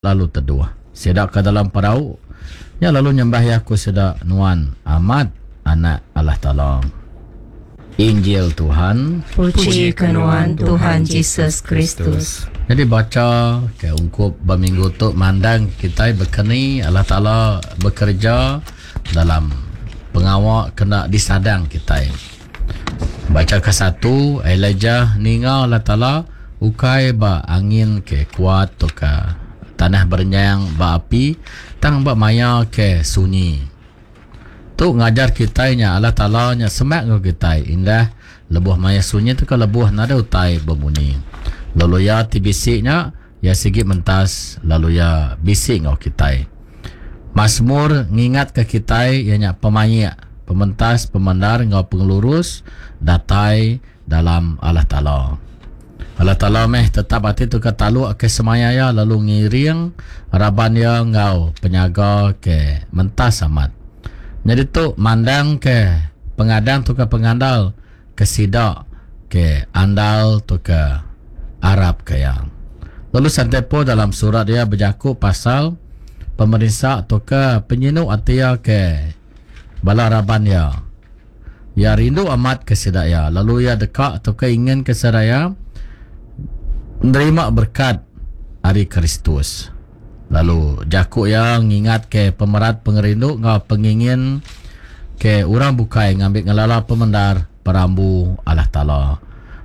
Lalu teduh sida ke dalam perau nya lalu nyembah Iya, ku sida, Nuan amat Anak Allah Taala. Injil Tuhan. Puji ke Nuan, Tuhan Jesus Kristus. Nyadi bacha ke ungkup ba minggu tu mandang kitai bekeni Allah Taala bekereja dalam pengawa kena disadang kitai. Bacha kesatu, Elijah ninga Allah Taala ukai ba angin ke kuat tauka tanah berenyang ba api, tang ba maya ke sunyi. Tu ngajar kitai nya Allah Taala nya semak enggau kitai indah lebuh maya sunyi tauka lebuh nadai utai bemunyi. Lalu iya ti bisi nya, iya sigi mentas lalu iya bisi enggau kitai. Masmur ngingatka kitai iya nya pemaik, pementas, pemendar enggau pengelurus datai dalam Allah Taala. Allah Taala meh tetap ati tauka taluk ke semaya iya lalu ngiring raban iya enggau penyaga ke mentas amat. Nyadi tu mandangka pengadang tauka pengandal ke sida ke andal tauka arapka iya. Lalu Sante Paul dalam surat iya bejaku pasal pemerinsa tauka penyinu ati iya ke bala raban iya. Iya rindu amat ke sida iya lalu iya deka tauka inginka sida iya nerima berekat ari Kristus. Lalu jaku iya ngingatka pemerat pengerindu enggau pengingin ke orang bukai ngambi ngelala pemendar perambu Allah Taala.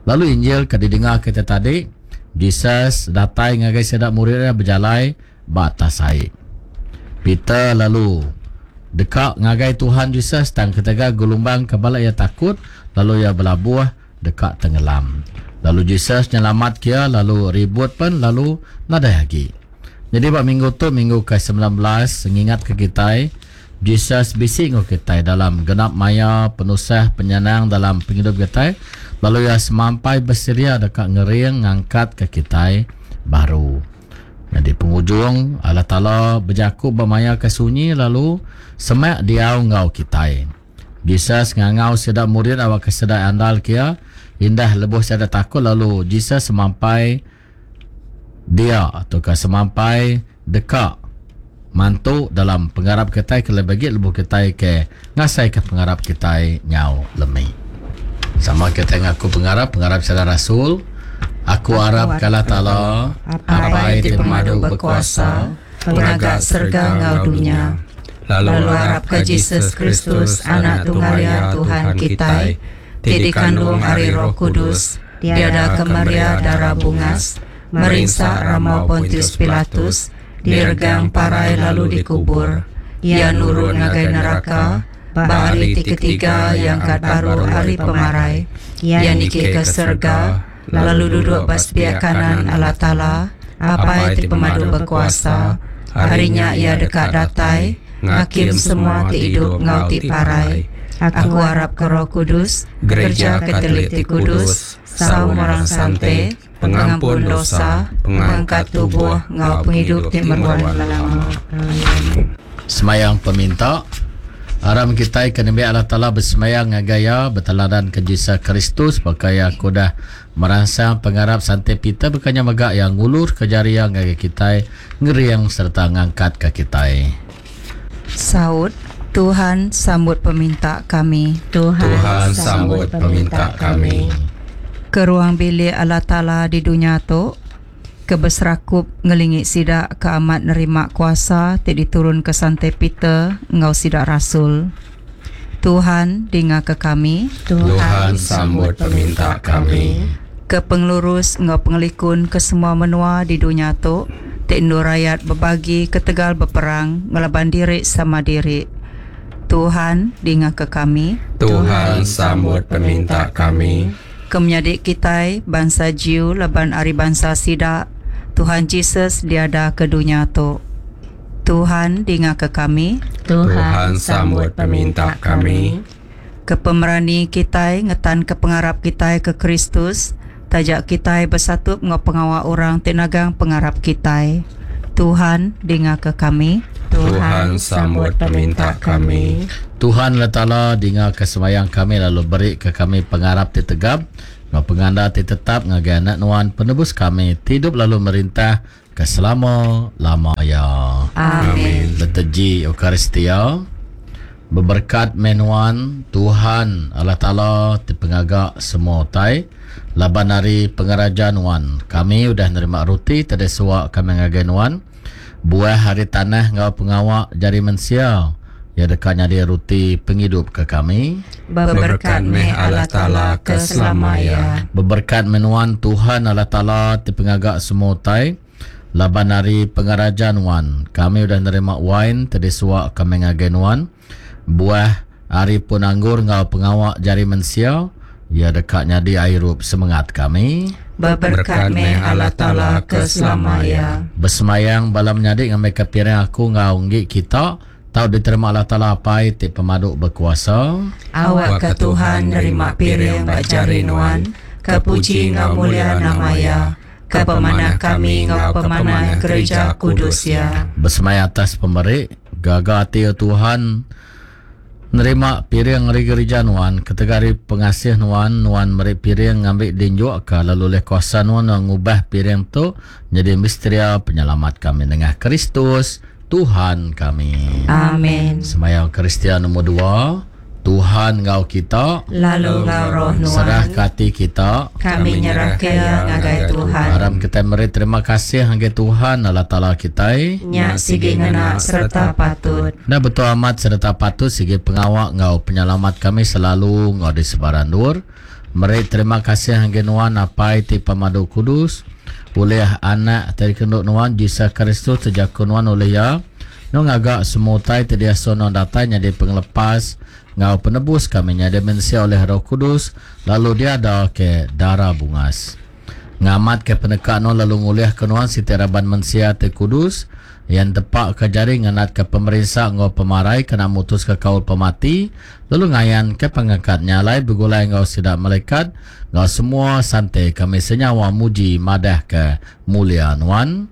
Lalu Injil ke didinga kita tadi, Jesus datai ngagai sida murid iya bejalai ba atas ai. Peter lalu deka ngagai Tuhan Jesus tang ketegal gelumbang ke bala iya takut lalu iya belabuh deka tengelam. Lalu Jesus nyelamatka iya lalu ribut pen lalu nadai agi. Nyadi ba minggu tu minggu ke 19 ngingatka kitai Jesus bisi enggau kitai dalam genap maya penusah penyenang dalam pengidup kitai lalu iya semampai besedia deka ngering ngangkatka kitai baru. Nyadi pengujung Allah Taala bejaku ba maya ke sunyi lalu semak diau enggau kitai. Jesus ngangau sida murid awakka sida andalka iya, indah lebuh sida takut lalu Jesus semampai dia tauka semampai deka mantu dalam pengarap kitai kelebih agi lebuh kitai ke ngasaika pengarap kitai nyau lemi. Sama kitai ngaku pengarap, pengarap sida rasul, Aku arap ke Allah Taala, Apai ti pemadu bekuasa, Pengaga serega enggau dunya, lalu arapka Jesus Kristus, Anak Tunggal Iya Tuhan kitai, ti dikandung ari Roh Kudus, diadaka Maria dara bungas, merinsa rambau Pontius Pilatus, diregang parai lalu dikubur. Iya nurun ngagai neraka, ba hari ti ketiga iya angkat baru ari pemarai. Iya niki ke serega, lalu duduk ba sepiak kanan Allah Taala, Apai ti Pemadu Bekuasa. Ari nya iya deka datai ngakim semua ti idup enggau ti parai. Aku arapka Roh Kudus, Gerija Katolik ti kudus, saum orang sante, pengampun dosa, pengangkat tubuh enggau pengidup ti meruan belama. Amin. Semayang peminta. Aram kitai ke nembiak Allah Taala besemayang ngagai Iya, beteladanka Jesus Kristus baka Iya ke udah meransang pengarap Sante Peter baka nya mega Iya ngulurka jari Iya ngagai kitai, ngering sereta ngangkatka kitai. Saut, Tuhan sambut peminta kami. Tuhan sambut peminta kami. Ke ruang bilik Allah Taala di dunya tu, ke beserakup ngelingi sida ke amat nerima kuasa ti diturunka Sante Peter enggau sida rasul. Tuhan, dingaka kami. Tuhan, sambut peminta kami. Ke pengelurus enggau pengelikun ke semua menua di dunya tu, ti endur rayat bebagi ketegal beperang ngelaban diri sama diri. Tuhan, dingaka kami. Tuhan, sambut peminta kami. Ke menyadi kitai, bansa Jew laban ari bansa sida, Tuhan Jesus diada ke dunya tu. Tuhan, dingaka kami. Tuhan, sambut peminta kami. Ke pemerani kitai ngetanka pengarap kitai ke Kristus, taja kitai besatup enggau pengawa orang ti nagang pengarap kitai. Tuhan, dingaka kami. Tuhan, sambut peminta kami. Tuhan Allah Taala, dingaka sembahyang kami lalu beri ke kami pengarap ti tegap enggau pengandal ti tetap ngagai Anak Nuan, Penebus kami, ti idup lalu merintah. ke selama lama iya. Amin. Liturgi Eucharistia Beberekat meh nuan, Tuhan, Allah Taala ti pengaga semua utai, laban ari pengeraja nuan kami udah nerima ruti ti disuwa kami ngagai nuan, buah ari tanah enggau pengawa jari mensia, iya deka nyadi ruti pengidup ke kami. Beberekat meh Allah Taala ke selama iya. Beberekat meh nuan, Tuhan, Allah Taala ti pengaga semua utai, Laban ari pengeraja nuan, kami udah nerima wain ti disuwa kami ngagai nuan, buah ari pun anggur enggau pengawa jari mensia, iya deka nyadi airup semengat kami. Beberekat meh Allah Taala ke selama iya. Besemayang bala menyadi ngambika piring aku enggau enggi kita tau diterima Allah Taala Apai ti pemadu bekuasa. Awakka Tuhan nerima piring ba jari nuan, ke puji enggau mulia nama Iya. Ke pemanah kami enggau pemanah gerija kudus Iya. Besemaya atas pemeri, gaga ati O Tuhan, nerima piring ari gerija Nuan, ketegal ari pengasih Nuan, Nuan meri piring ngambi dinjukka lalu ulih kuasa Nuan Nuan ngubah piring tu nyadi misteria penyelamat kami nengah Kristus Tuhan kami. Amen. Semaya Eucharistia nombor dua. Tuhan enggau kita. Lalu enggau roh nuan. Serahka ati kita. Kami nyerahka iya ngagai Tuhan. Aram kitai meri terima kasih ngagai Tuhan Allah Taala kitai. Nya sigi ngena sereta patut. Enda betul amat sereta patut sigi pengawa enggau penyelamat kami selalu enggau di sebarang endur. Meri terima kasih ngagai nuan Apai ti Pemadu Kudus, ulih Anak ti dikerindu nuan Jesus Kristus ti jaku nuan ulih iya. Nuan ngaga semua utai ti diasuh nuan datai nyadi pengelepas enggau penebus kami nyadi mensia ulih Roh Kudus lalu diada ke dara bungas. Ngamatka peneka nuan lalu ngulihka nuan siti raban mensia ti kudus, iya entepaka jari ngenatka pemerinsa enggau pemarai kena mutuska kaul pemati lalu ngayanka pengangkat nya alai begulai enggau sida malaikat enggau semua sante kami senyawa muji madahka mulia nuan.